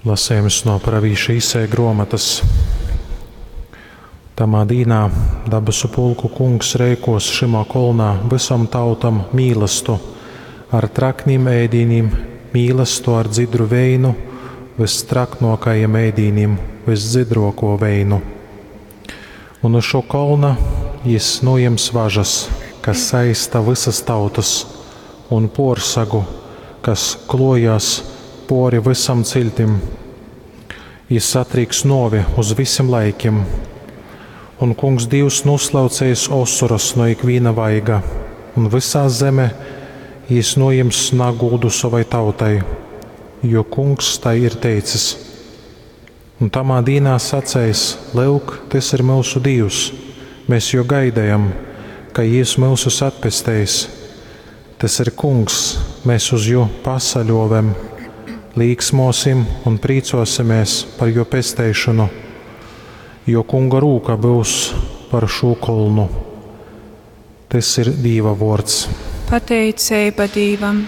Lasejums no pravīša Isaija gruomotys. Tamā dīnā dabasu pulku Kungs reikuos šymā kolnā vysom tautom mīlastu ar traknim ēdīnim, mīlastu ar dzidru veinu, vystraknuokajim ēdīnim, vysdzidruokū veinu. Un uz šo kolna jis nūjems važas, kas saista vysas tautys, un puorsagu, kas kluojās puori vysam ciļtim. Jis satrīks nuovi uz vysim laikim. Un Kungs Dīvs nūslauceis osoras nu ikvīna vaiga, un vysā zeme jis nūjims nagūdu sovai tautai, jo Kungs tai ir teicis. Un tamā dīnā saceis: Lyuk, tys ir myusu Dīvs, mēs jū gaidejam, ka jys myusus atpesteis. Tys ir Kungs, mēs uz jū pasaļuovem, līksmuosim un prīcuosimies par juo pesteišonu, jo Kunga rūka byus par šū kolnu. Tys ir Dīva vuords. Pateiceiba Dīvam.